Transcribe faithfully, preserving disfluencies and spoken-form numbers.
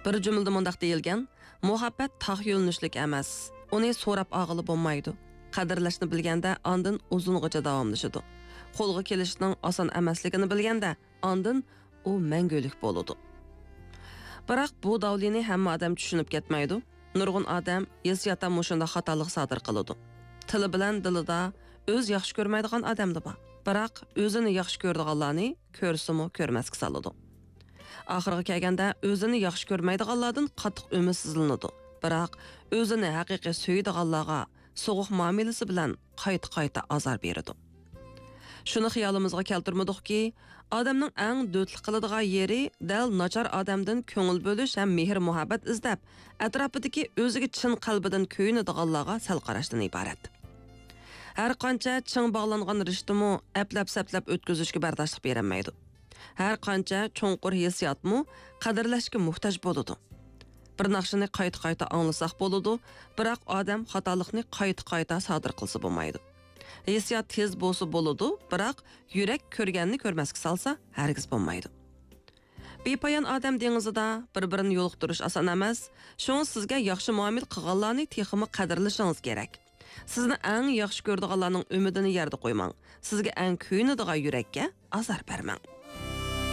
بىر جۈملىدە مۇنداق دېيىلگەن: مۇھەببەت تاغ يۆنىلىشلىك ئەمەس. ئۇنى سوراپ ئالغىلى بولمايدۇ. قەدىرلەشنى بىلگەندە، ئاندىن ئۇزۇنغىچە داۋاملىشىدۇ. قولغا كېلىشنىڭ ئاسان ئەمەسلىكىنى بىلگەندە، ئاندىن ئۇ مەڭگۈلۈك بولىدۇ. بىراق بۇ داۋلىنى ھەممە ئادەم چۈشىنىپ كەتمەيدۇ. نۇرغۇن ئادەم ھېسسىياتتا مۇشۇنداق خاتالىق سادىر قىلىدۇ. تىلى بىلەن دىلىدا ئۆز ياخشى كۆرمەيدىغان ئادەملا بار. بىراق ئۆزىنى ياخشى كۆرىدىغانلارنى كۆرسىمۇ كۆرمەسكە سالىدۇ. ئاخىرىغا كەلگەندە، ئۆزىنى ياخشى كۆرمەيدىغانلاردىن قاتتىق ئۈمىدسىزلىنىدۇ. بىراق ئۆزىنى ھەقىقىي سۆيىدىغانلارغا سوغۇق مۇئامىلىسى بىلەن قايتا-قايتا ئازار بېرىدۇ. شۇنى خىيالىمىزغا كەلتۈرمىدۇقكى، ئادەمنىڭ ئەڭ دۆتلۈك قىلىدىغان يېرى دەل ناچار ئادەمدىن كۆڭۈل بۆلۈش ھەم مېھىر-مۇھەببەت ئىزدەپ، ئەتراپىدىكى ئۆزىگە چىن قەلبىدىن كۆيۈنىدىغانلارغا سەل قاراشتىن ئىبارەت. ھەر قانچە چىڭ باغلانغان رىشتىمۇ ئەپلەپ-سەپلەپ ئۆتكۈزۈشكە بەرداشلىق بېرەلمەيدۇ. ھەر قانچە چوڭقۇر ھېسسىياتمۇ قەدىرلەشكە موھتاج بولىدۇ. بىر ناخشىنى قايتا-قايتا ئاڭلىساق بولىدۇ، بىراق ئادەم خاتالىقنى قايتا-قايتا سادىر قىلسا بولمايدۇ. ھېسسىيات تېز بولسا بولىدۇ، بىراق يۈرەك كۆرگەننى كۆرمەسكە سالسا ھەرگىز بولمايدۇ. بىپايان ئادەم دېڭىزىدا بىر-بىرىنى يولۇقتۇرۇش ئاسان ئەمەس، شۇڭا سىزگە ياخشى مۇئامىلە قىلغانلارنى تېخىمۇ قەدىرلىشىڭىز كېرەك. سىزنى ئەڭ ياخشى كۆرىدىغانلارنىڭ ئۈمىدىنى يەردە قويماڭ. سىزگە ئەڭ كۆيۈنىدىغان يۈرەككە ئازار بەرمەڭ.